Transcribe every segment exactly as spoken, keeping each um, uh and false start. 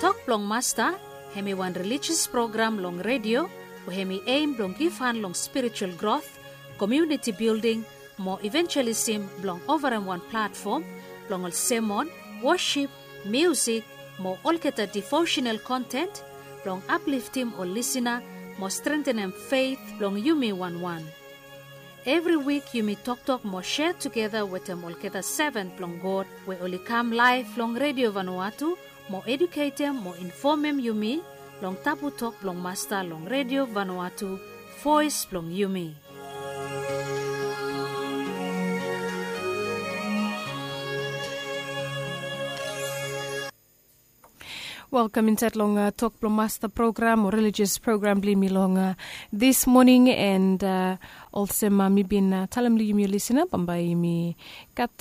Tok blong Masta, hem i wan relijios program long redio, we hem i eim blong givhan long spiritual grot, komuniti bilding, mo ivenjelisim blong ovarem wan platfom blong ol semon, wosip, miusik, mo olgeta devosenal konten blong apliftim ol lisina mo strentenem feit blong yumi wanwan. Evri wik yumi toktok mo sea tugeta wetem olgeta seven blong God we oli kam laef long redio Vanuatu mo eduketem mo infomem yumi long tabu tok blong Masta long redio Vanuatu, voes blong yumi. Welkam insaed long tok blong Masta program o relijios program blong yumi long dis moning. And olsem mi bin talem long yumi ol lisina, bambae yumi gat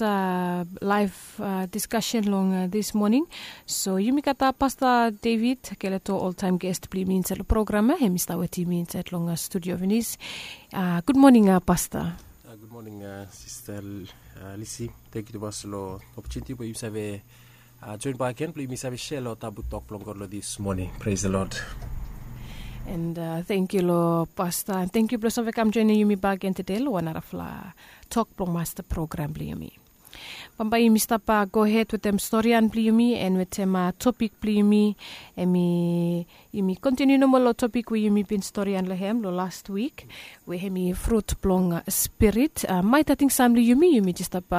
laef diskasen long dis moning. So yumi gat Pasta David Keleto, oltaem gest blong yumi insaed long program ya, hem i stap wetem yumi insaed long studio finis. Gud moning, Pasta. Gud moning, Sista Lisi. Tangkiu tumas long opotuniti we yumi save joen bakegen blong yumi save sea long tabu tok blong God long dis moning. Pres the Lord. And tangkiu long Pasta, and tangkiu blong save kam joenem yumi bakegen tede long wan narafala tok blong Masta program blong yumi. Bambae yumi stap gohed wetem storian blong yumi and wetem topik blong yumi. Hem i, yumi kontiniu nomo long topik we yumi bin storian long hem long las wik, we hem i frut blong spirit. Maet ating sam long yumi, yumi jes stap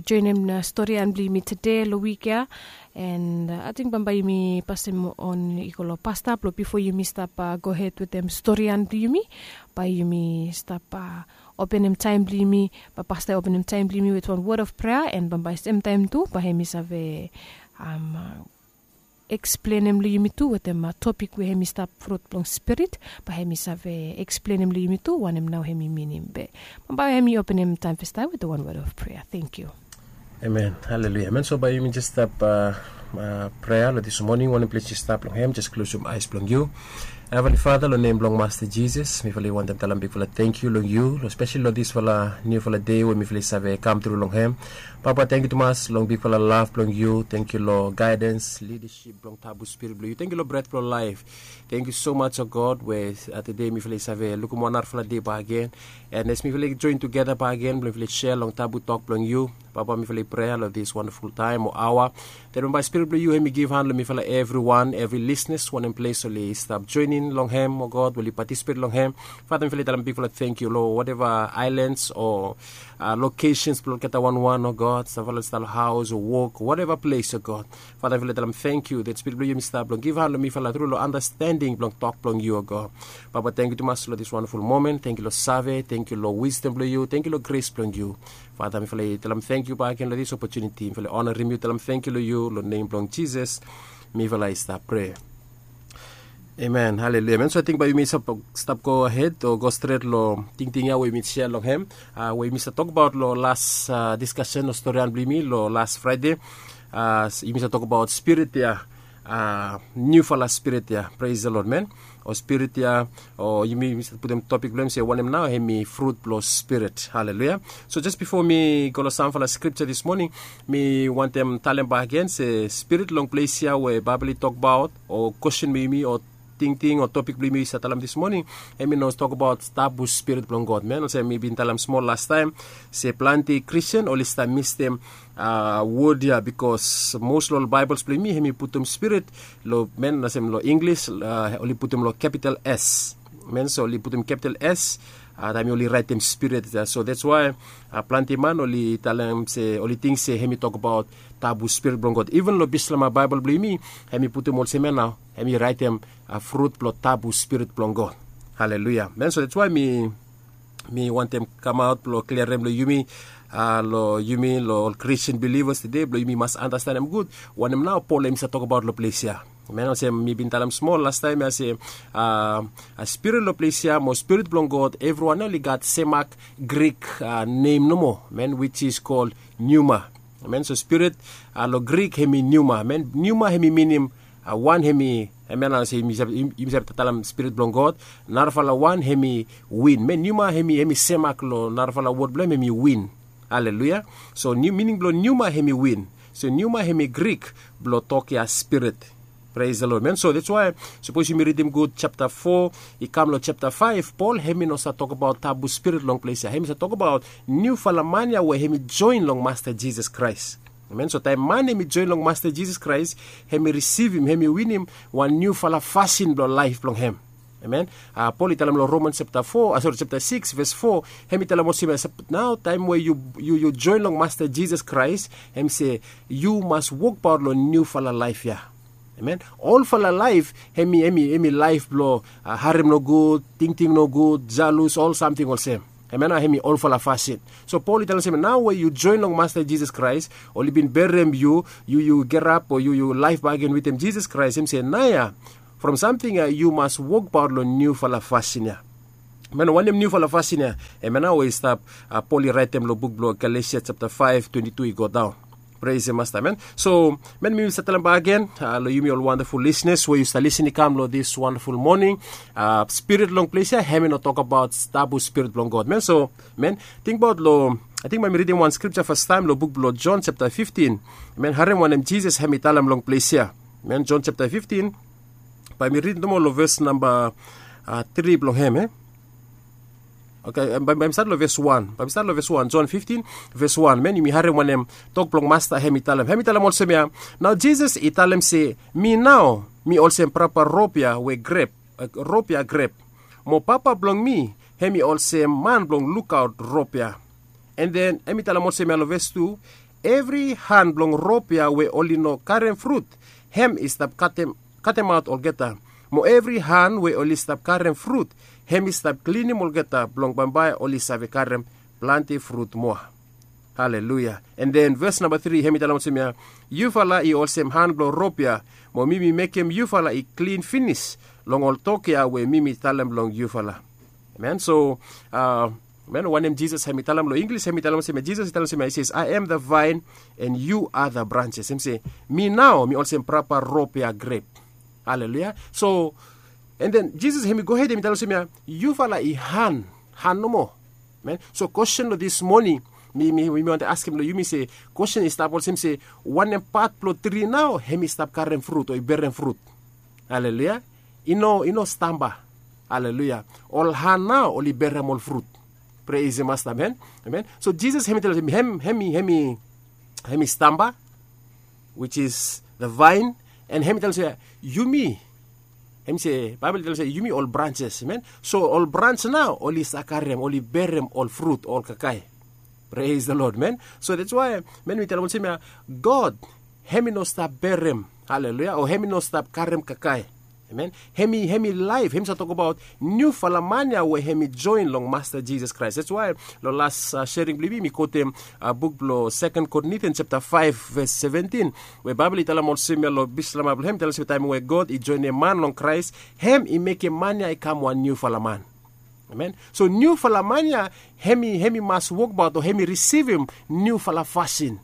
joenem storian blong yumi tede long wik ya. And ating bambae yumi pasem on i go long Pasta blong bifo yumi stap gohed wetem storian blong yumi, bae yumi stap openem taem blong yumi, bae Pasta i openem taem blong yumi wetem wan wod of prea, and bambae semtaem tu bae hem i save eksplenem long yumi tu wetem topik we hem i stap frut blong spirit, bae hem i save eksplenem long yumi tu wanem nao hem i minim. Be bambae hem i openem taem festaem wetem wan wod of prea. Tangkiu. Amen. Haleluia. Amen. So bae yumi jes stap prea long dis moning, wanem ples yu stap long hem, jes klosum aes blong yu. Heavenly Father, long nem blong Masta Jisas, mifala i wantem talem bigfala tangkiu long yu, long spesali long disfala niufala dei we mifala i save kam tru long hem. Papa, tangkiu tumas long bigfala lav blong yu. Tangkiu long gaedens, lidasip blong tabu spirit blong yu. Tangkiu long bret blong laef. Tangkiu so maj, o God, we tede mifala i save lukim wan narafala dei bakegen. And as mifala i joen tugeta bakegen blong mifala i sea long tabu tok blong yu, Papa, mifala i prea long dis wandaful taem o aoa, dat bambae spirit blong yu hem i givhan long mifala evriwan, evri lisnas, wanem ples oli stap joenem long hem, o God, we oli patisipet long hem. Fata, mifala i talem bigfala tangkiu long wateva aelans o lokesens blong olgeta wanwan, o God, samfala oli stap long haos o wok o wateva ples, o God. Fata, mifala i talem tangkiu dat spirit blong yu hem i stap blong givhan long mifala tru long andastending blong tok blong yu, o God. Papa, tangkiu tumas long dis wandaful momen. Tangkiu long save, tangkiu long wisdom blong yu, tangkiu long gres blong yu. Fata, mifala i talem tangkiu bakegen long dis opotuniti. Mifala i onarem yu, talem tangkiu long yu, long nem blong Jisas mifala i stap prea. Amen. Haleluia. Amen. So ating bae yumi stap gohed o go stret long tingting ya we yumi sea long hem, we yumi stap tokbaot long las diskasen o storian blong yumi long las Fraede. Yumi stap tokbaot spirit ya, niufala spirit ya. Pres the Lord, amen. O spirit ya, o yumi, yumi stap putum topik blong hem se wanem nao hem i frut blong spirit. Haleluia. So jes bifo mi go long samfala skripja dis moning, mi wantem talem bakegen se spirit long ples ya we Baebol i tokbaot, o kwestin blong yumi, o tingting o topik blong yumi i stap talem dis moning, hem i no tokbaot tabu spirit blong God. Amen. Olsem mi bin talem smol lastaem se plante Kristin oli stap mistem wod ya, bikos mos long ol Baebols blong yumi hem i putum spirit long, amen, olsem long Inglis oli putum long kapital S. Amen. So oli putum kapital S taem oli raetem spirit ya. So that's why plante man oli talem se, oli ting se hem i tokbaot tabu spirit blong God. Iven long Bislama Baebol blong yumi, hem i putum olsem ya nao, hem i raetem frut blong tabu spirit blong God. Haleluia. Amen. So that's why mi mi wantem kamaot blong kliarem long yumi, long yumi, long ol Kristin bilivas tede, blong yumi mas andastanem gud wanem nao Pol hem i stap tokbaot long ples ya. Amen. Olsem mi bin talem smol lastaem ya se spirit long ples ya mo spirit blong God, evriwan ya oli gat semak Grik nem nomo, amen, which is called pneuma. Amen. So spirit long Grik hem i pneuma. Amen. Pneuma hem i minim wan hem i, amen, olsem yumi save talem spirit blong God. Narafala wan hem i win. Amen. Pneuma hem i, hem i semak long narafala wod blong hem hem i win. Haleluia. So mining blong pneuma hem i win. So pneuma hem i Grik blong tok ya spirit. Pres the Lord, man. So dats wai sapos yumi ridim gud japta fo i kam long japta faef, Pol hem i no save tokabaot tabu spirit long ples ya. Hem i save tokabaot niufala man ya we hem i joen long Masta Jisas Kraes. Amen. So taem man hem i joen long Masta Jisas Kraes, hem i risivim, hem i winim wan niufala fasin blong laef blong hem. Amen. Pol i talem long Romans japta fo, sori, japta sikis ves fo, hem i talem olsem ya, nao taem we yu joen long Masta Jisas Kraes, hem i se yu mas wokbaot long niufala laef ya. Amen. Olfala laef hem i laef blong harem nogud, tingting nogud, jalus, ol samting olsem. Amen. Hem i olfala fasin. So Pol i talem olsem ya, nao we yu joen long Masta Jisas Kraes, oli bin berem yu, yu gerap o yu laef bakegen wetem Jisas Kraes, hem i se naoia from samting ya yu mas wokbaot long niufala fasin ya. Amen. Wanem niufala fasin ya? Amen. Nao we i stap, Pol i raetem long buk blong Galesia japta faef twenti tu i go daon. Pres the Masta, amen. So man, mi save talem bakegen long yumi ol wandaful lisnas we yu save lisin i kam long dis wandaful moning, spirit long ples ya hem i no tokabaot tabu spirit blong God, man. So man, tingbaot long, ating bae mi ridim wan skripja fastaem long buk blong Jon japta fiftin. Man, harem wanem Jisas hem i talem long ples ya. Man, Jon japta fiftin, bae mi ridim nomo long ves namba tri blong hem, e? Oke, bae mi stat long ves wan. Bae mi stat long ves wan, Jon fiftin, ves wan. Man, yumi harem wanem tok blong Masta hem i talem. Hem i talem olsem ya, nao Jisas i talem se, mi nao mi olsem prapa rop ya we grep, rop ya grep. Mo Papa blong mi hem i olsem man blong lukaot rop ya. An den hem i talem olsem ya long ves tu, evri han blong rop ya we oli no karem frut, hem i stap katemaot olgeta. Mo evri han we oli stap karem frut, hem i stap klinim olgeta blong bambae oli save karem plante frut moa. Haleluia. An den ves namba tri hem i talem olsem ya, yufala i olsem han blong rop ya, mo mi mi mekem yufala i klin finis long ol tok ya we mi mi talem long yufala. Amen. So, amen, wanem Jisas hem i talem long Inglis, hem i talem olsem ya, Jisas i talem olsem ya, i ses, I am the vine and you are the branches. Hem i se, mi nao mi olsem prapa rop ya grep. Haleluia. So, an den Jisas hem i gohed hem i talem olsem ya, yufala i han, han nomo. Amen. So kwesten long dis moning mi, mi wantem askem long yumi se, kwesten i stap olsem se, wanem pat blong tri nao hem i stap karem frut o i berem frut? Haleluia. I no, i no stamba. Haleluia. Ol han nao oli berem ol frut. Pres the Masta, amen. Amen. So Jisas hem i talem olsem ya, hem, hem i, hem i stamba, which is the vine, an hem i talem olsem ya, yumi, hem i se, Baebol i talem olsem ya, yumi ol branches, amen. So ol brans nao oli save karem, oli berem ol frut, ol kakae. Pres the Lord, amen. So dats wai man, mi talem olsem ya, God hem i no stap berem, haleluia, o hem i no stap karem kakae. Amen. Hem i, hem i laef, hem i save tokabaot niufala man ya we hem i joen long Masta Jisas Kraes. Dats wai long las sering blong yumi, mi kotem buk blong Seken Korintian japta faef ves seventin, we Baebol i talem olsem ya long Bislama blong hem, i talem olsem ya, taem we God i joenem man long Kraes, hem i mekem man ya i kam wan niufala man. Amen. So niufala man ya hem i, hem i mas wokbaot o hem i risivim niufala fasin.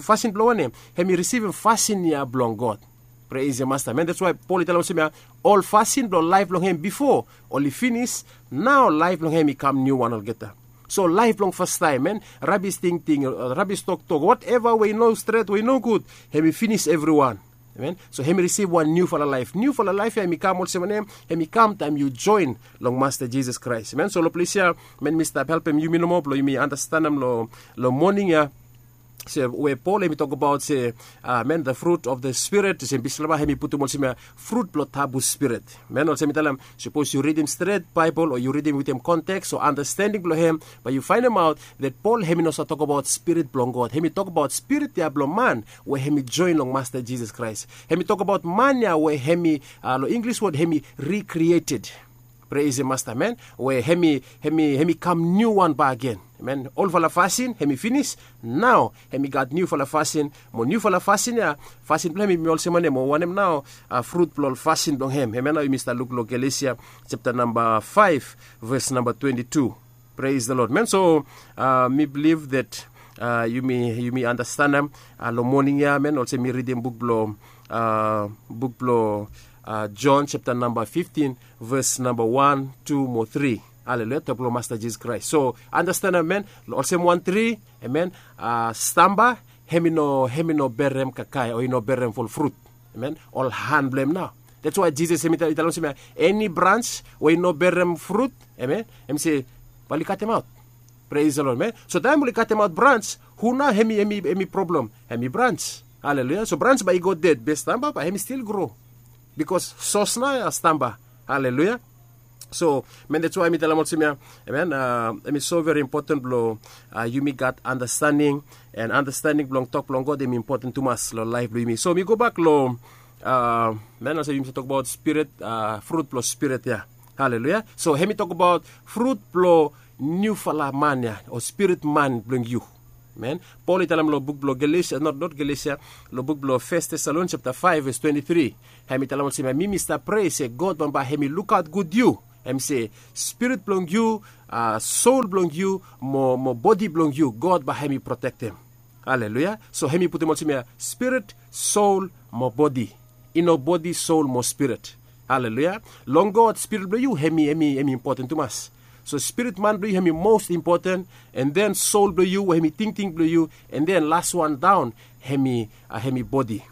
Fasin blong wanem? Hem i risivim fasin ya blong God. Pres the Masta, amen. Dats wai Pol i talem olsem ya, ol fasin blong laef blong hem bifo oli finis, nao laef blong hem i kam niuwan olgeta. So laef blong fastaem, amen, rabis tingting, rabis toktok, wateva we i no stret, we i nogud, hem i finis evriwan. Amen. So hem i risivim wan niufala laef. Niufala laef ya hem i kam olsem wanem? Hem i kam taem yu joen long Masta Jisas Kraes. Amen. So long ples ya man, mi stap helpem yumi nomo blong yumi andastanem long, long moning ya, se we Pol hem i tokbaot se, amen, the fruit of the Spirit, olsem Bislama hem i putum olsem ya, frut blong tabu spirit. Amen. Olsem mi talem, sapos yu ridim stret Baebol o yu ridim wetem konteks o andastending blong hem, bae yu faenemaot that Pol hem i no save tokbaot spirit blong God. Hem i tokbaot spirit ya blong man we hem i joen long Masta Jisas Kraes. Hem i tokbaot man ya we hem i, long Inglis wod, hem i recreated. Pres the Masta, amen. We hem i, hem i, hem i kam niuwan bakegen. Amen. Olfala fasin hem i finis, nao hem i gat niufala fasin. Mo niufala fasin ya, fasin blong hem i olsem wanem, o wanem nao frut blong ol fasin blong hem? Amen. Nao yumi stap luk long Galesia japta namba faef, ves namba twenti tu. Pres the Lord, amen. So mi bilif that yumi, yumi andastanem long moning ya, amen, olsem mi ridim buk blong, buk blong Jon japta namba fiftin, ves namba wan, tu mo tri. Haleluia. Tok blong Masta Jisas Kraes. So andastanem, amen, olsem wan tri, amen, stamba, hem i no, hem i no berem kakae o i no berem ol frut. Amen. Ol han blong em nao. That's why Jesus em i talem olsem ya, eni brans we i no berem frut, amen, em se, bae oli katem aut. Praise the Lord, amen. So taem oli katem aut brans, hu nao em i em i em i problem? Em i brans. Haleluya. So brans bae i go ded be stamba, bae em i stil gro, bikos sos nao ya stamba. Haleluya. So, men, that's why mi talem olsem ya, amen, em i so veri impoten blong yumi gat andastaning, and andastaning blong tok blong God em i impoten tumas long laef blong yumi. So mi gobak long, men, olsem yumi save tokbaot spirit, frut blong spirit ya. Haleluya. So em i tokbaot frut blong niufala man ya, o spirit man blong yu. Amen. Pol i talem long buk blong Galesia, not, not Galesia, long buk blong Fes Tesalonika japta faef ves twenti tri. Em i talem olsem ya, mi mi stap prea se God bambae em i lukaot gud yu. Em i se, spirit blong yu, sol blong yu, mo mo bodi blong yu, God bae em i protektem. Haleluya. So em i putum olsem ya, spirit, sol, mo bodi. I no bodi, sol mo spirit. Haleluya. Long God, spirit blong yu em i em i em i impoten tumas. So spirit man blong yu em i mos impoten, and then sol blong yu we em i tingting blong yu, and then laswan daon em i em i bodi.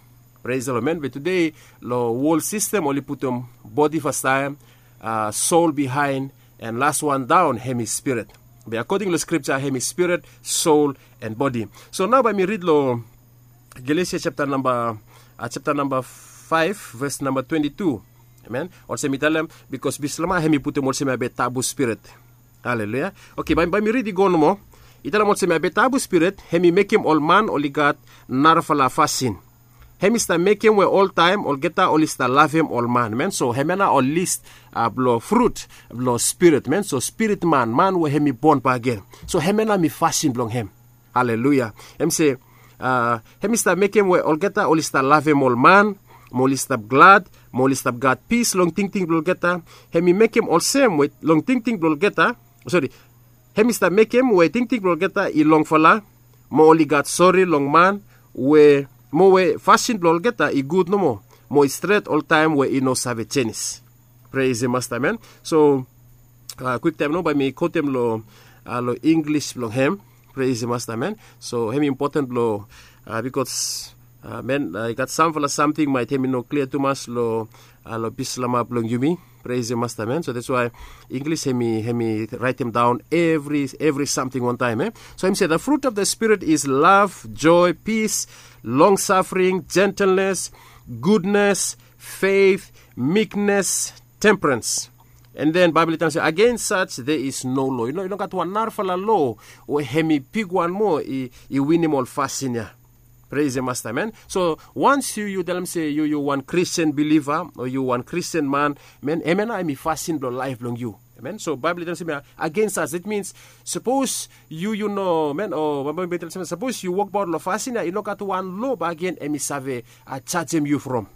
Praise the Lord, amen. Be tude long wol sistem oli putum bodi fastaem, sol bihaen, and laswan daon em i spirit. Be akoding long skripta em i spirit, sol, and bodi. So nao bae mi rid long Galesia japta namba, japta namba faef ves namba twenti tu. Amen. Olsem i talem, bikos Bislama em i putum olsem ya be tabu spirit. Haleluya. Oke, bae bae mi rid i go nomo. I talem olsem ya be tabu spirit em i mekem ol man oli gat narafala fasin. Em i stap mekem we oltaem olgeta oli stap lavem ol man. Amen. So em ya nao ol lis blong frut blong spirit, amen. So spirit man, man we em i bon bakegen. So em ya nao em i fasin blong em. Haleluya. Em se, a, em i stap mekem we olgeta oli stap lavem ol man, mo oli stap glad, mo oli stap gat pis long tingting blong olgeta. Em i mekem olsem we long tingting blong olgeta, sori, em i stap mekem we tingting blong olgeta i longfala, mo oli gat sori long man, we mo we fasin blong olgeta i gud nomo, mo i stret oltaem we i no save jenis. Praise the Master, amen. So, a, kwiktaem nao bae mi kotem long, a, long Inglis blong em. Praise the Master, amen. So em i impoten blong, a, bikos, a, amen, a, i gat samfala samting maet em i no klia tumas long, a, long Bislama blong yumi. Praise the Master, amen. So that's why Inglis em i em i raetem daon evri evri samting wantaem, e. So em i se, the fruit of the Spirit is love, joy, peace, long suffering, gentleness, goodness, faith, meekness, temperance. And then Baebol i talem se, against such there is no law. I no, i no gat wan narafala lo we em i bigwan moa i, i winim ol fasin ya. Praise the Master, amen. So once yu, yu talem se yu, yu wan Christian believer o yu wan Christian man, amen, em ya nao em i fasin blong laef blong yu. Amen. So Baebol i talem se, against such, that means, sapos yu, yu no, amen, o Baebol i talem se, sapos yu wokbaot long fasin ya, i no gat wan lo bakegen em i save, a, jajem yu from.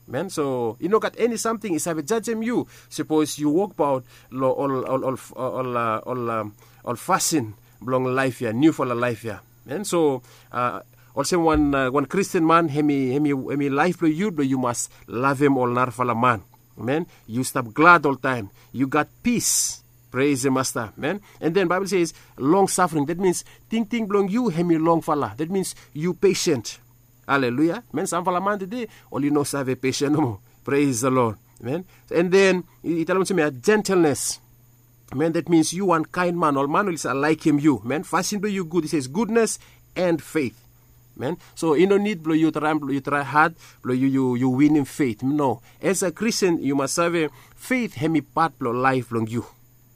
Amen. So i no gat eni samting i save jajem yu sapos yu wokbaot long ol ol ol ol a, ol a, ol fasin blong laef ya, niufala laef ya. Amen. So, a, olsem wan, a, wan Kristin man, em i em i em i laef blong yu blong yu mas lavem ol narafala man. Amen. Yu stap glad oltaem. Yu gat pis. Praise the Master. Amen. And then Bible says long suffering. That means tingting blong yu em i longfala. That means yu patient. Haleluya. Amen. Samfala man tede oli no save patient nomo. Praise the Lord. Amen. And then i talem olsem ya, gentleness. Amen. That means yu wan kaen man, ol man oli save laekem yu. Amen. Fasin blong yu gud. He says goodness and faith. Amen. So i no nid blong yu traem, blong yu trae had blong yu yu yu winim faith. No. As a Christian yu mas save, faith em i pat blong laef blong yu.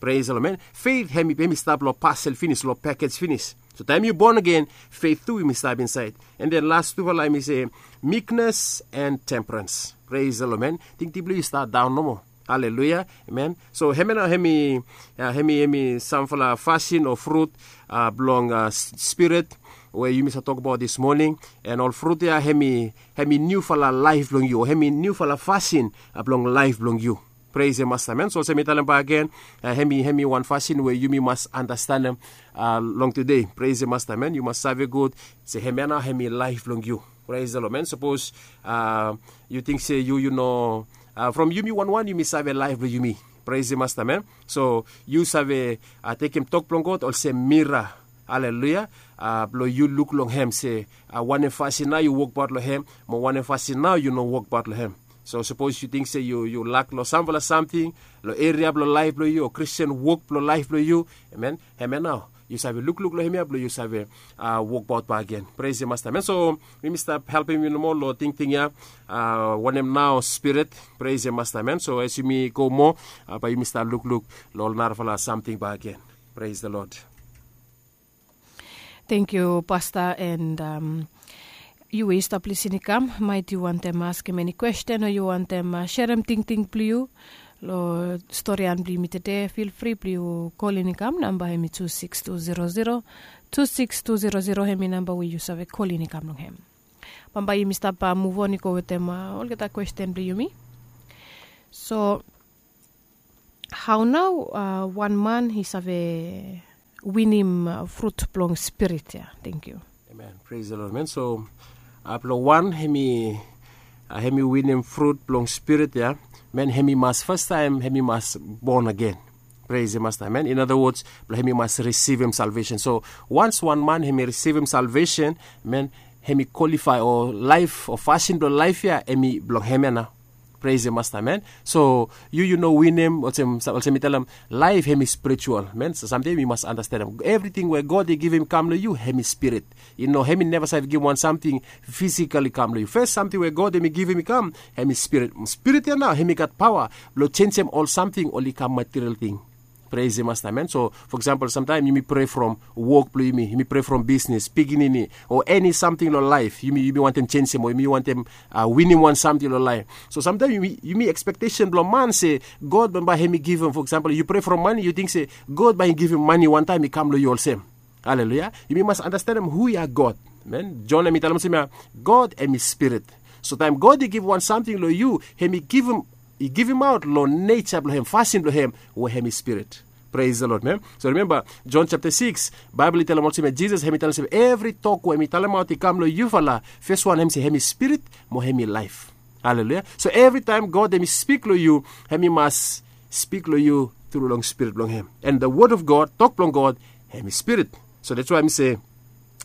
Praise the Lord, amen. Faith em i em i stap long pasel finis, long pekej finis. So taem yu bon agen, faith tu em i stap insaed. And then las tufala em i se meekness and temperance. Praise the Lord, amen. Tingting blong yu i stap daon nomo. Haleluya. Amen. So hemia nao em i, a, em i em i samfala fasin o frut, a, blong, a, s- spirit we yumi save tokbaot dis moning. And ol frut ya em i em i niufala laef blong yu, o em i niufala fasin, a, blong laef blong yu. Praise the Master, amen. So olsem mi talem bakegen, a, em i em i wan fasin we yumi mas andastanem, a, long tede. Praise the Master, amen. Yu mas save gud se hemia nao em i laef blong yu. Praise the Lord, amen. Sapos, a, yu ting se yu yu no, a, from yumi wanwan yumi save laef blong yumi. Praise the Master, amen. So yu save, a, tekem tok blong God olsem mira. Aleluia. Blong yu luk long hem se wanem fasin nao yu wokbaot long hem, mo wanem fasin nao yu no wokbaot long hem. So sapos yu ting se yu lak long samfala samting long eria blong laef blong yu o kristian wok blong laef blong yu, amen, hem ya nao yu save lukluk long hem ya blong yu save wokbaot bak gen. Pres ya masta, amen. So mi mi stap helpim yu nomo long tingting ya, wanem nao spirit. Pres ya masta, amen. So as yumi go moa, bae yumi stap lukluk long ol narafala samting bak gen. Pres the lord. Tengkiu pasta and yu we yu stap lisin i kam, maet yu wantem askem eni kwesten o yu wantem serem tingting blong yu long storian blong yumi tede, fil fri blong yu kolin i kam namba hem i tu siks tu zero zero, tu siks tu zero zero hem i namba we yu save kolin i kam long hem. Bambae yumi stap muv on i go wetem olgeta kwesten blong yumi. So hao nao wan man i save winim frut blong spirit ya? Tengkiu. Amen. Pres the lord, man. So blong wan hem i winim frut blong spirit ya, man, hem i mas fastaem hem i mas bon agen. Pres ya masta, man. In other words, blong hem i mas risivim salvesen. So wans wan man hem i risivim salvesen, man, hem i kwalifae o laef o fasin blong laef ya hem i blong hem ya nao. Pres ya masta, amen. So yu yu no winim olsem mi talem, laef hem i spritual, amen. So samting yu mas anastenem evriting we god i givim i kam long yu hem i spirit. I no hem i neva save givim wan samting fisikal i kam long yu. Fes samting we god hem i givim i kam hem i spirit. Spirit ya nao hem i gat paoa blong jenisim ol samting oli kam material ting. Pres ya masta, amen. So fo eksampel samtaem yumi pre from wok blong yumi, yumi pre from bisnes, pikinini, o eni samting long laef yumi wantem jenisim o yumi wantem winim wan samting long laef. So samtaem yumi ekspektesen blong man se god bambae hem i givim. Fo eksampel yu pre from mani, yu ting se god bae i givim mani wantaem i kam long yu olsem. Aleluia. Yumi mas anastenem hu ya god. Jon hem i talem olsem ya, god hem i spirit. So taem god i givim wan samting long yu, hem i givimaot long neja blong hem, fasin blong hem we hem i spirit. Pres the lord, man. So rimemba jon japta siks, baebol i talem olsem ya jisas hem i talem olsem ya evri tok we hem i talemaot i kam long yufala, fes wan hem se hem i spirit mo hem i laef. Aleluia. So evritaem god hem i spik long yu, hem i mas spik long yu tru long spirit blong hem. And the word of god, tok blong god, hem i spirit. So dats wae mi se,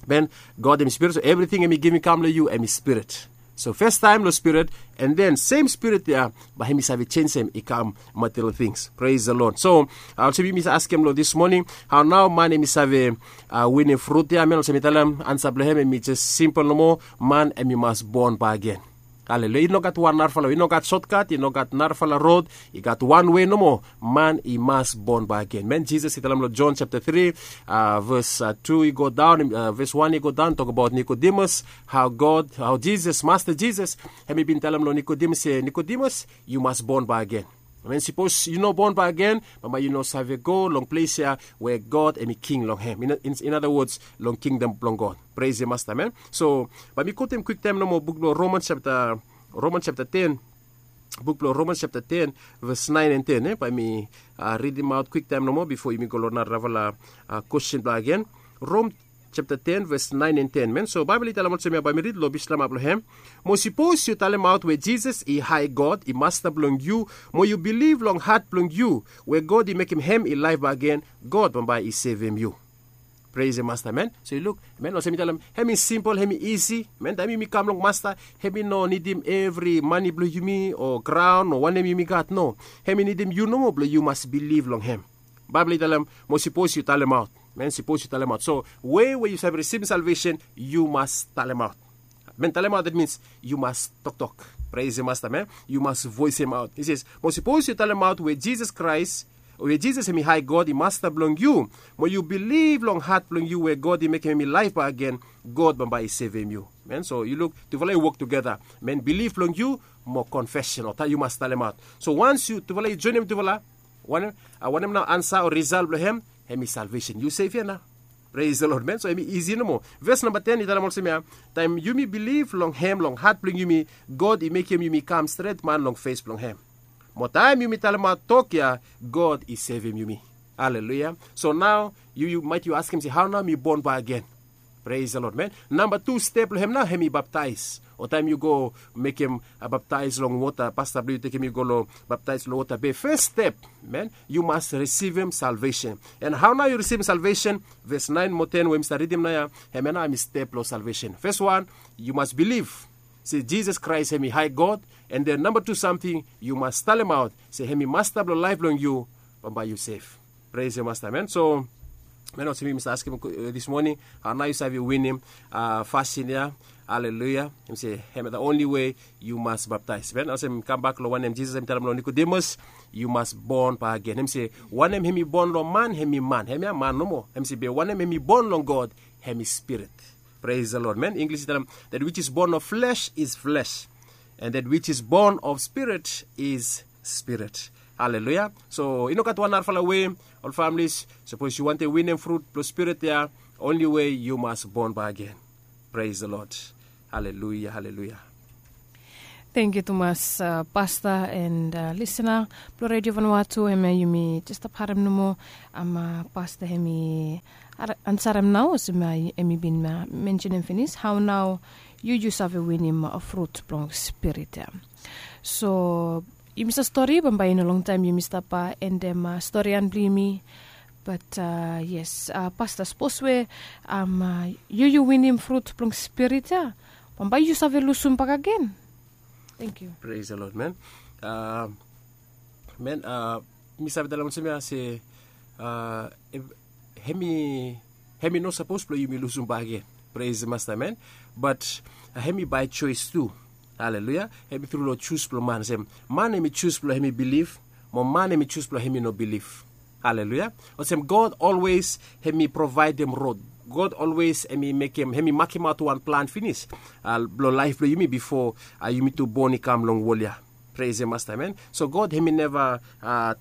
man, god hem i spirit, so evriting hem i givim i kam long yu hem i spirit. So fastaem long spirit, and then sem spirit ya bae hem i save jenisim i kam material tings. Pres the lord. So olsem yumi save askem long dis moning, hao nao man hem i save winim frut ya? Man, olsem mi talem, ansa blong hem hem i jes simpel nomo. Man hem i mas bon bak gen. Aleluia. I no gat wan narafala we, i no gat sotkat, i no gat narafala rod. I gat wan we nomo. Man i mas bon bak gen. Man, jisas i talem long jon japta tri, ves tu i go daon, ves wan i go daon, tokbaot nikodimas, hao god, hao jisas, masta jisas hem i bin talem long nikodimas se nikodimas, yu mas bon bak gen. Man, sipos yu no bon bak gen, bambae yu no save go long ples ya we god hem i king long hem. In other wods, long kingdom blong god. Pres ya masta, man. So bae mi kotem kwiktaem nomo buk blong romans japta ten, buk blong romans japta ten, ves naen and ten. Bae mi ridimaot kwiktaem nomo bifo yumi go long narafala kwesten blong agen. Rom japta ten ves naen and ten, man. So baebol i talem olsem ya, bae mi rid long bislama blong hem. Mo sipos yu talemaot we jisas i hae god, i masta blong yu, mo yu bilif long hat blong yu we god i mekem hem i laef bak gen, god bambae i sevem yu. Pres ya masta, man. So yu luk, man, olsem mi talem, hem i simpel, hem i isi. Man, taem yumi kam long masta, hem i no nidim evri mane blong yumi o graon o wanem yumi gat, no. Hem i nidim yu nomo blong yu mas bilif long hem. Baebol i talem, mo sipos yu talemaot, man, sipos yu talemaot. So we we yu save risivim salvesen, yu mas talemaot. Man, talemaot, dat mins yu mas toktok. Pres ya masta, man. Yu mas voesemaot. I se, mo sipos yu talemaot we jisas kraes, we jisas hem i hae god, i masta blong yu, mo yu bilif long hat blong yu we god i mekem hem i laef bak gen, god bambae i sevem yu. Man, so yu luk, tufala i wok tugeta. Man, bilif blong yu mo konfesen o taem yu mas talemaot. So wans yu tufala i joenem tufala, wanem nao ansa o risal blong hem? Hem i salvesen. Yu sef ya nao. Pres the lord, man. So hem i isi nomo. Ves namba ten i talem olsem ya, taem yumi bilif long hem long hat blong yumi, god i mekem yumi kam stret man long fes blong hem. Mo taem yumi talemaot tok ya, god i sevem yumi. Aleluia. So nao yu maet yu askem se, hao nao mi bon bak gen? Pres the lord, man. Namba tu step blong hem nao hem i baptaes. O taem yu go mekem baptaes long wota, pasta blong yu tekem yu go long baptaes long wota, be fes step, men, yu mas risivim salvesen. And hao nao yu risivim salvesen? Ves naen mo ten we mi stap ridim naoia, hemia nao hem i step long salvesen. Fes wan, yu mas bilif se jisas kraes hem i hae god. And then namba tu samting, yu mas talemaot se hem i masta blong laef blong yu. Bambae yu sef. Pres yu masta, men. So men, olsem mi stap askem dis moning, hao nao yu save winim fasin ya? Aleluya. Hem se hem ya the onli we yu mas baptaes, men. Olsem mi kambak long wanem jisas hem i talem long nikodimas, yu mas bon bagen. Hem se wanem hem i bon long man hem i man, hemia man nomo. Hem se be wanem hem i bon long god, hem i spirit. Pres the lord, men. Inglis i talem, that which is born of flesh is flesh, and that which is born of spirit is spirit. Aleluya. So i no gat wan narafala we, ol familis, sapos yu wantem winim frut blong spirit ya, onli we yu mas bon bagen. Pres the lord. Aleluya, aleluya. Tengkiu tumas, pasta and lisena blong redio vanua tu, hemia yumi jes stap harem nomo. Pasta hem i ansarem nao olsem hem i bin mensenem finis hao nao yu yu save winim frut blong spirit ya. So yumi save stori bambae i no longtaem yumi stap endem storian blong yumi. Bat yes, pasta, sapos we yu yu winim frut blong spirit ya, bambae yu save lusum bakagen. Tengkiu. Pres the lord, men. Men, mi save talem olsem ya se hem i hem i no sapos blong yumi lusum bagen. Pres masta, men. Bat hem i bae joes tu. Aleluya. Hem i tru long jus blong man olsem man hem i jus blong hem i bilif, mo man hem i jus blong hem i no bilif. Aleluya. Olsem god olwes hem i provaedem rod. God olwes hem i mekem hem i makemaot wan plan finis blong laef blong yumi bifo yumi tu bon i kam long wol ya. Pres masta, men. So god hem i neva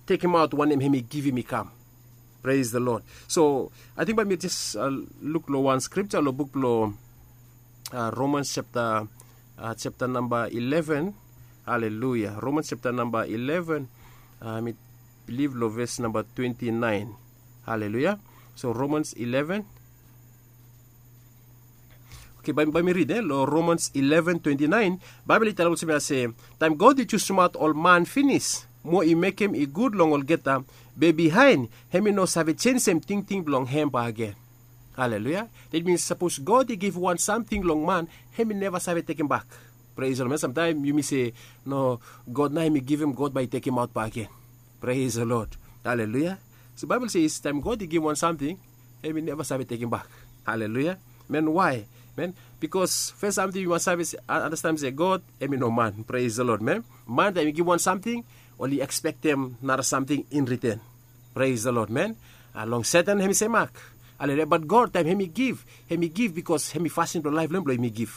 tekemaot wanem hem i givim i kam. Pres the lord. So ating bae mi jes luk long wan skripta long buk blong romans septa septa namba ileven. Aleluya. Romans septa namba ileven. Mi bilif long ves namba twenti naen. Aleluya. So romans ileven. Oke, bae mi rid long romans ileven twenti naen. Baebol i talem olsem ya se taem god i jusumaot ol man finis mo i mekem i gud long olgeta, be bihaen hem i no save jenjem tingting blong hem bagen. Aleluya. Dat mins sapos god i givim wan samting long man, hem i neva save tekembak. Pres long men, samtaem yumi se no, god nao hem i givim, god bae i tekemaot bagen. Pres long lod. Aleluya. So baebol se taem god i givim wan samting, hem i neva save tekembak. Aleluya. Men, wae? Men, bikos fes samting yu mas save andastanem se god hem i no man. Pres long lod, men. Man taem i givim wan samting, oli ekspektem nara samting in riten. Pres long lod, men. Long seten hem i semak. Aleluya. Bat god taem hem i giv, hem i giv bikos hem i fasin blong laef blong hem blong hem i giv.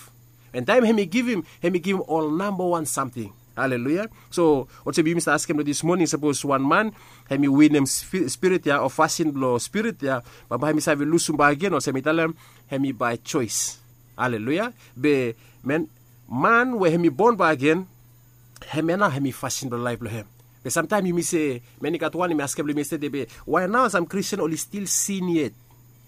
An taem hem i givim, hem i givim ol nambawan samting. Aleluya. So olsem yumi stap askem long dis moning, sapos wan man hem i winim spirit ya o fasin blong spirit ya, bambae hem i save lusum bak gen? Olsem mi talem, hem i bae joes. Aleluya. Be men, man we hem i bon bak gen, hemia nao hem i fasin blong laef blong hem. Be samtaem yumi se, men, i gat wan yumi askem long yumi stede, be wae nao sam kristian oli stil sin yet?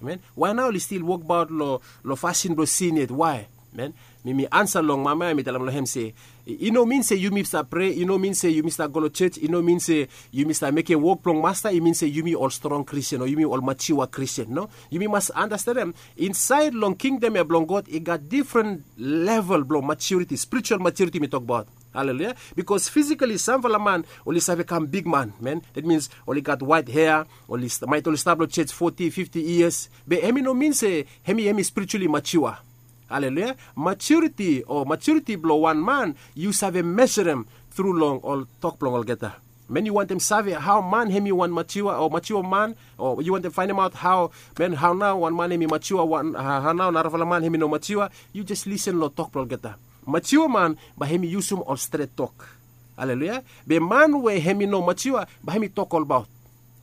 Wae nao oli stil wokbaot long fasin blong sin yet? Wae? Men, mi mi ansa long mama ya, mi talem long hem se i no min se yumi stap prea, i no min se yumi stap go long jos, i no min se yumi stap mekem wok blong masta i min se yumi ol strong kristian o yumi ol matiua kristian. No. Yumi mas andastanem, insaed long kingdom ya blong god i gat difren level blong matiuriti, spritual matiuriti mi tokbaot. Aleluya. Bikos fisikali samfala man oli save kam bigman, men, dat mins oli gat waet hea, maet oli stap long jos foti fifti yias, be hem i no min se hem i hem i sprituali matiua. Aleluya. Matiuriti o matiuriti blong wan man yu save meserem tru long ol tok blong olgeta. Men, yu wantem save hao man hem i wan matiua o matiua man, o yu wantem faenemaot hao, men, hao nao wan man hem i matiua, hao nao narafala man hem i no matiua, yu jes lisen long tok blong olgeta. Matiua man bae hem i yusum ol stret tok. Aleluya. Be man we hem i no matiua bae hem i tok olbaot.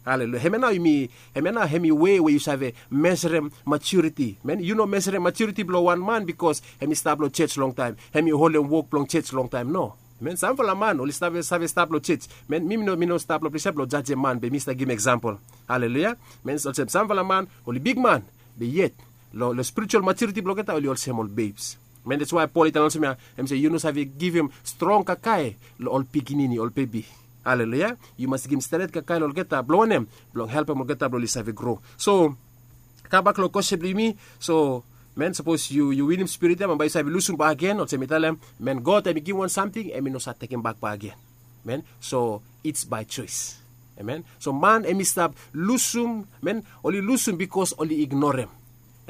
Aleluya. Hemia nao yumi, hemia nao hem i wei we yu save meserem matiuriti. Men, yu no meserem matiuriti blong wan man bikos hem i stap long jos longtaem, hem i holem wok blong jos longtaem. No. Men, samfala man oli save stap long jos. Men, mi mi no stap long ples ya blong jajem man, be mi stap givim eksampol. Aleluya. Men, olsem samfala man oli bigman, be yet long spritual matiuriti blong olgeta oli olsem ol bebs. Men, that's why Pol i talem olsem ya, hem se yu no save givim strong kakae long ol pikinini, ol bebi. Haleluya. Yu mas givim stret kakae long olgeta, blong wanem? Blong helpem olgeta blong oli save gro. So, kam bak long kwestin blong yumi. So, men, sapos yu yu winim spirit ya, man, bae yu save lusum bakegen, olsem mi talem, men, God hem i givim wan samting, hem i no save tekem bak bakegen. Men, so it's by choice. Amen. So man hem i stap lusum, men, oli lusum bikos oli ignorem.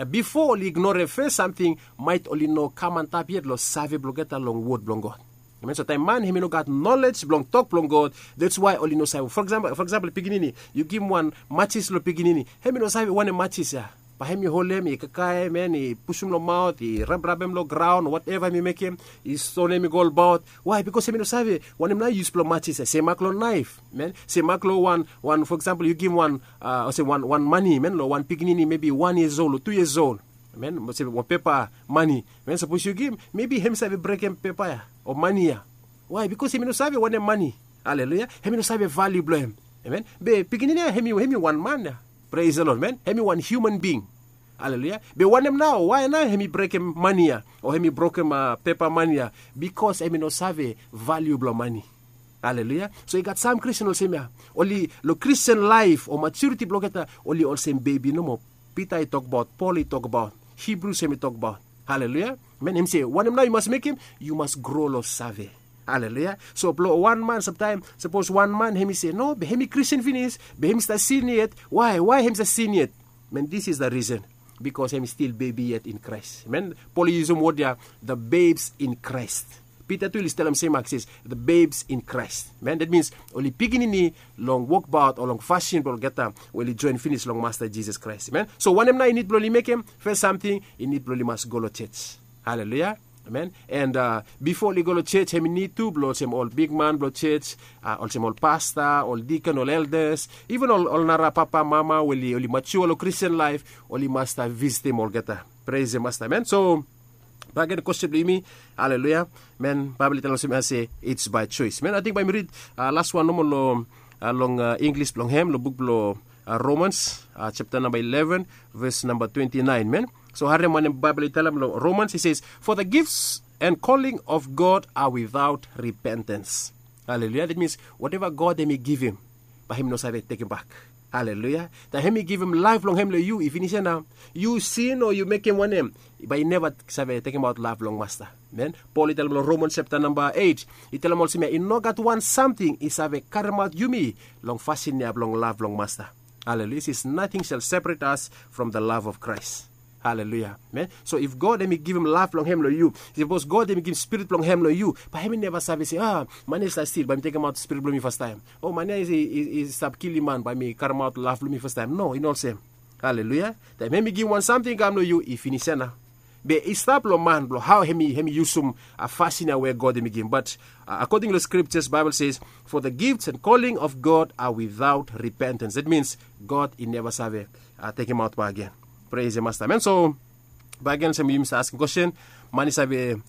Bifo oli ignorem fes samting, maet oli no kam antap yet long save blong olgeta long wod blong God. Amen. So taem man hem i no gat nolej blong tok blong God, that's why oli no save. For example, for example, pikinini, yu givim wan matsis long pikinini, hem i no save wanem matsis ya. Bae hem i holem, i kakaem, men, i pusum long maot, i rabrabem long graon, whatever hem i mekem, i stonem i go olbaot. Why? Bikos hem i no save wanem nao yus blong matsis ya. Semak long naef, men, semak long wan, wan, for example, yu givim wan, olsem wan wan mane, men, long wan pikinini, mebi wan years old o tu years old, men, olsem wan pepa mane, men, sapos yu givim, mebi hem i save brekem pepa ya o mane ya. Why? Bikos hem i no save wanem mane. Haleluya. Hem i no save valiu blong hem. Amen. Be pikinini ya, hem i hem i wan man ya. Praise the Lord, men. Hem i wan human being. Haleluya. Be wanem nao, why nao hem i brekem mane ya o hem i brokem pepa mane ya? Bikos hem i no save valiu blong mane. Haleluya. So i gat sam Kristin olsem ya, oli long Kristin laef o maturiti blong olgeta, oli olsem bebi nomo. Pita i tokbaot, Pol i tokbaot, Hibrus hem i tokbaot. Haleluya. Men, hem i se wanem nao yu mas mekem? Yu mas gro long save. Haleluya. So blong wan man, samtaem sapos wan man hem i se, no, be hem i Kristin finis, be hem i stap sin yet. Why? Why hem i stap sin yet? Men, this is the reason. Bikos hem i stil bebi yet in Kraes. Men, Pol i yusum wod ya, the babes in Christ. Pita tu oli talem semak, ses, the babes in Christ. Men, that means oli pikinini long wokbaot o long fasin blong olgeta we oli joen finis long Masta Jisas Kraes. Men, so wanem nao i nid blong oli mekem? Fes samting, i nid blong oli mas go long jos. Haleluya. Amen. And bifo oli go long jos, hem i nid tu blong olsem ol bigman blong jos, olsem ol pasta, ol dikon, ol eldas, iven ol nara papa, mama we oli matua long Kristin laef, oli mas stap visitim olgeta. Praise the Master, amen. So bakegen kwestin blong yumi. Haleluya. Men, Baebol i talem olsem ya se, it's by choice. Men, ating bae mi rid laswan nomo long Inglis blong hem, long buk blong Romans, chapta namba eleven, ves namba twenti naen, men. So harem wanem Baebol i talem long Romans, i se, for the gifts and calling of God are without repentance. Haleluya. That means whatever God hem i givim, bae hem i no save tekem bak. Haleluya. Taem hem i givim laef blong hem long yu, i finis ya nao. Yu sin o yu mekem wanem, bae i neva save tekemaot laef blong Masta. Men, Pol i talem long Romans chapta namba eit, i talem olsem ya, i no gat wan samting i save karemaot yumi long fasin ya blong laef blong Masta. Haleluya. Says nothing shall separate us from the love of Christ. Haleluya. Men, so if God hem i givim laef blong hem long yu, sapos God hem i givim spirit blong hem long yu, bae hem i neva save se, a, man ya i stap stil, bae mi tekemaot spirit blong mi fastaem. O, man ya i stap kilim man, bae mi karemaot laef blong mi fastaem. No, i no olsem. Haleluya. Taem hem i givim wan samting i kam long yu, i finis ya nao. Be i stap long man blong hao hem i yusum fasin ya we God hem i givim. But akoding long scriptures, Baebol says, for the gifts and calling of God are without repentance. That means God i neva save tekemaot bakegen. Praise the Master, amen. So bakegen, olsem yumi stap askem kwestin, man i save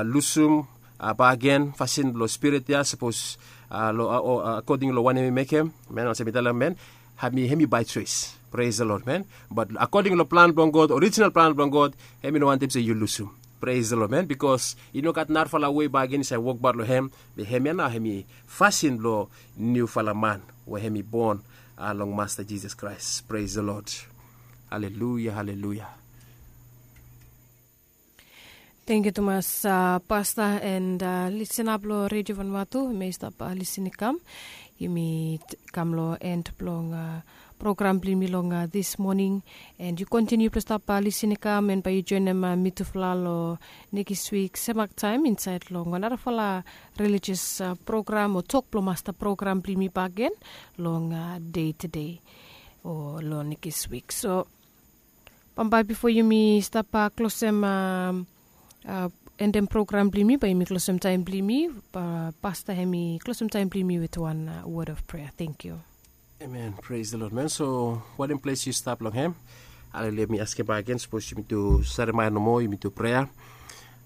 lusum bakegen fasin blong spirit ya, sapos akoding long wanem hem i mekem, men, olsem mi talem, men, hem i by choice. Praise the Lord, men. But akoding long plan blong God, orijinal plan blong God, hem i no wantem se yu lusum. Praise the Lord, men. Bikos i no gat narafala wei bakegen i save wokbaot long hem. Be hem ya nao hem i fasin blong niufala man we hem i bon long Masta Jisas Kraes. Praise the Lord. Haleluya, haleluya. Tangkiu tumas, pasta, and lisena blong Redio Vanuatu, hemia i stap lisin i kam. Yumi kam long en blong program blong yumi long this morning. And yu kontiniu blong stap lisin i kam, and bae yu joenem mitufala long nekis wik semak taem insaed long wan narafala religious program o Tok blong Masta program blong yumi bakegen long Dei Tedei o long nekis wik. So bambae bifo yumi stap klosem, endem program blong yumi, bae yumi klosem taem blong yumi. Pasta, hemi klosem taem blong yumi with wan word of prayer. Tangkiu. Amen. Praise the Lord, man. So wanem ples yu stap long hem? Haleluya. Mi askem bakegen, sapos yumi tu saremaea nomo, yumi tu prea.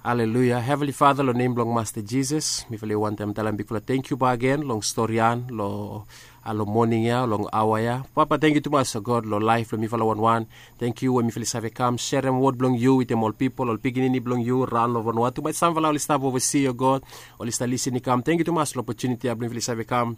Haleluya. Heavenly Father, long nem blong Masta Jisas, mifala i wantem talem bigfala tangkiu bakegen long storian, long long moning ya, long aoa ya. Papa, tangkiu tumas, o God, long laef blong mifala wanwan. Tangkiu we mifala i save kam serem wod blong yu wetem ol pipol, ol pikinini blong yu raon long Vanuatu. Maet samfala oli stap ovasi, o God, oli stap lisin i kam. Tangkiu tumas long opotuniti ya blong mifala i save kam,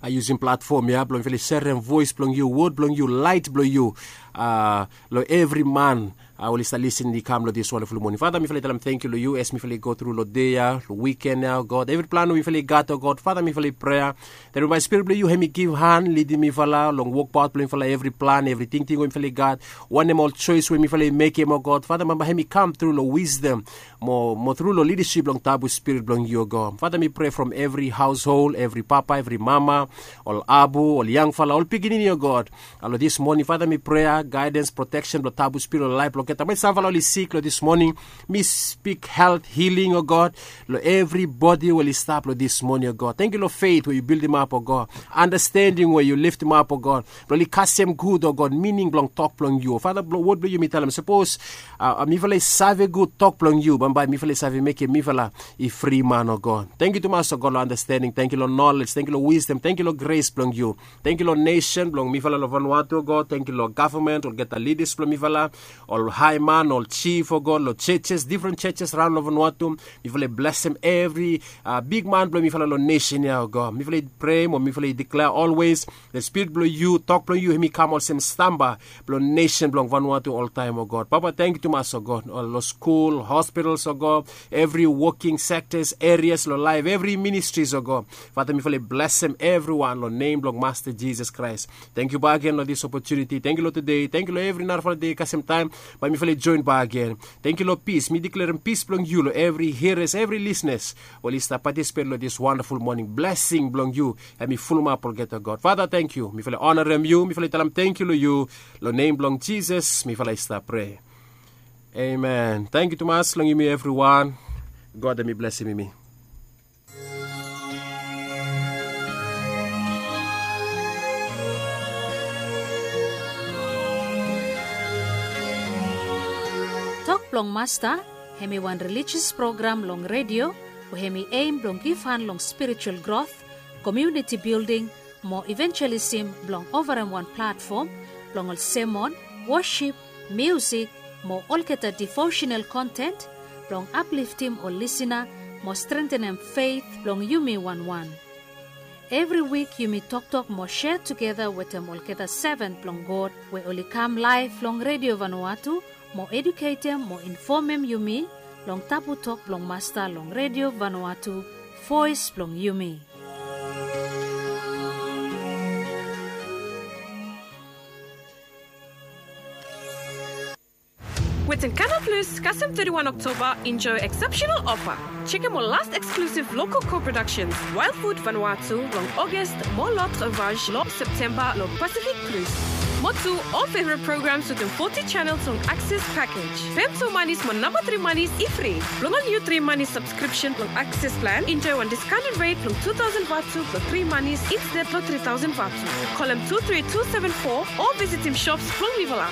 a, yusum platfom ya blong mifala i serem voes blong yu, wod blong yu, laet blong yu, a, long evri man, a, oli stap lisin i kam long dis wandaful moning. Fata, mifala i talem tangkiu long yu as mifala i go tru long dei ya, long wiken ya, o God. Evri plan we mifala i gat, o God, Fata, mifala i prea that bae Spirit blong yu hemi givhan, lidim mifala long wokbaot blong mifala, evri plan, evri tingting we mifala i gat, wanem ol joes we mifala i mekem, o God, Fata, bae hem i kam tru long wisdom mo, mo tru long lidasip blong Tabu Spirit blong yu, o God. Fata, mi prea from evri haoshol, evri papa, evri mama, ol abu, ol yangfala, ol pikinini, o God. A, long dis moning, Fata, mi prea gaedens, proteksen blong Tabu Spirit long laef blong olgeta. Maet samfala oli sik long dis moning, mi spik helt, hiling, o God, long evri bodi we oli stap long dis moning, o God. Tangkiu long fet we yu bildimap, o God. Andastending we yu leftemap, o God, blong oli kasem gud, o God, mining blong tok blong yu. Fata, blong wod blong yu mi talem, sapos, a, a, mifala i save gud tok blong yu, bambae mifala i save mekem mifala i fri man, o God. Tangkiu tumas, o God, long andastending. Tangkiu long nolej. Tangkiu long wisdom. Tangkiu long gres blong yu. Tangkiu long nesen blong mifala long Vanuatu, o God. Tangkiu long gavman, olgeta lidas blong mifala, ol haeman, ol jif, o God, long jejes, difren jejes raon long Vanuatu. Mifala i blesem evri, a, bigman blong mifala long nesen ya, o God. Mifala i prea mo mifala i diklea olwes, the Spirit blong yu, tok blong yu, hemi kam olsem stamba blong nesen blong Vanuatu oltaem, o God. Papa, tangkiu tumas, o God, ol long skul, hospitals, o God, evri woking sektas, erias long laef, evri ministris, o God. Fata, mifala i blesem evriwan long nem blong Masta Jisas Kraes. Tangkiu bakegen long dis opotuniti. Tangkiu long tude. Tangkiu long evri narafala dei kasem taem bae mifala i joen bakegen. Tangkiu long pis. Mi diklerem pis blong yu long evri hiras, evri lisnas we oli stap patisipet long dis wandaful moning. Blesing blong yu hemi fulumap olgeta, God. Fata, tangkiu. Mifala i onarem yu. Mifala i talem tangkiu long yu. Long nem blong Jisas mifala i stap prea. Amen. Tangkiu tumas long yumi evriwan. God hemi blesem yumi. Tok blong Masta hemi wan rilijis program long redio we hemi eim blong givhan long spiritual grot, komuniti bilding, mo ivenjelism blong ovarem wan platfom blong ol semon, wosip, miusik, mo olgeta devosenal konten blong apliftim ol lisina mo strentenem fet blong yumi wanwan. Evri wik yumi toktok mo sea tugeta wetem olgeta seven blong God we oli kam laef long Redio Vanuatu mo eduketem mo infomem yumi long tabu tok blong Masta long Redio Vanuatu, voes blong yumi. Wetem Canal Plus, kasem thirty-one Oktoba, enjoy exceptional offer. Jekem ol last exclusive local co-productions, Wild Food Vanuatu long August mo L'Autre Vache long September long Pacific Plus. Mo tu, ol favorite programs wetem forty channels long Access package. Pem tu manis mo namba three manis i fri. Blong ol niu three manis subscription blong Access plan, enjoy wan discounted rate blong two thousand vatu blong three manis instead long three thousand vatu. Kolem two three two seven four o visitim shops blong mifala.